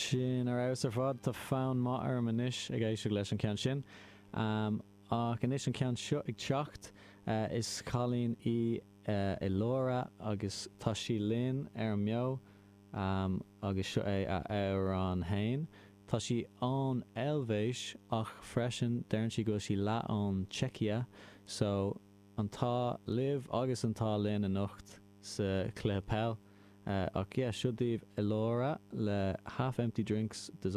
Sin ar fheabhas ar fad. Tá fonn maith orm anois ag éisteacht leis an ceann sin. Ach anois an ceann seo ag teacht. Is cailín í Elora agus tá sí linn ar an mbeo agus seo é a amhrán fhéin. Tá sí ón Eilvéis ach freisin deireann sí go bhfuil sí leath ón tSeicia so an t-ádh libh agus an t-ádh linn anocht sa chluiche peil. Ach yeah, seo daoibh Elora le Half Empty Drinks Dissolve.